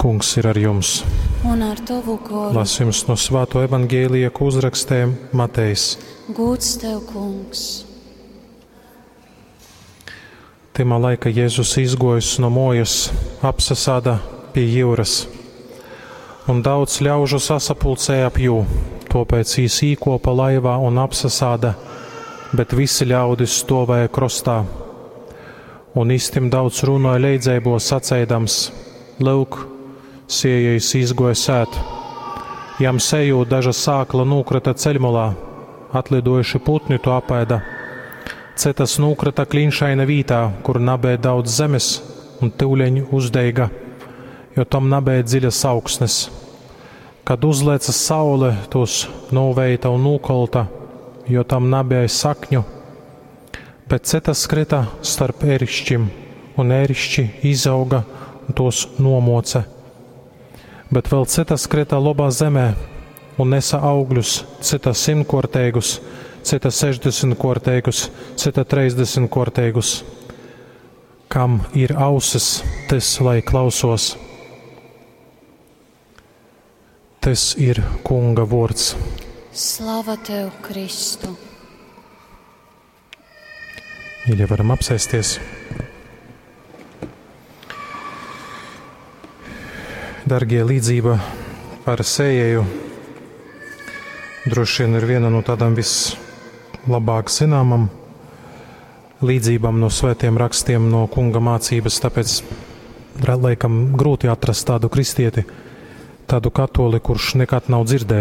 Kungs ir ar jums. Un ar tovu goru. Lasījums no Svāto evaņģēlija, ko uzrakstīja Matejs. Gūds tev, kungs. Tymā laika Jēzus izgojis no mojas, apsasāda pie jūras. Un daudz ļaužu sasapulcēja ap jū, topēc jis īkopa laivā un apsasāda, bet visi ļaudis stovēja krostā. Un istim daudz runoja leidzeibos saceidams: Lūk, siejais izgoja sēt. Jam sejūt daža sākla nūkrita ceļmalā, atlidojuši putni to apēda. Citas nūkrita klinšaina vītā, kur nabēja daudz zemes, un tyuleņ uzdeiga, jo tam nabēja dziļas augsnes. Kad uzlēca saule, tos nūveita un nūkolta, jo tam nabēja sakņu. Bet citas krita starp erišķim, un erišķi izauga un tos nomoca. Bet vēl citas krita labā zemē un nesa augļus, cita simtkorteigus, cita sešdesmitkorteigus, cita trīsdesmitkorteigus. Kam ir ausis, tas lai klausos. Tas ir Kunga vārds. Slava tev, Kristu! Mīļie, varam apsēsties. Dargie, līdzība par sējēju droši vien ir viena no tādām vislabāk zināmām līdzībām no svētiem rakstiem, no kunga mācības, tāpēc laikam grūti atrast tādu kristieti, tādu katoli, kurš nekad nav dzirdējis.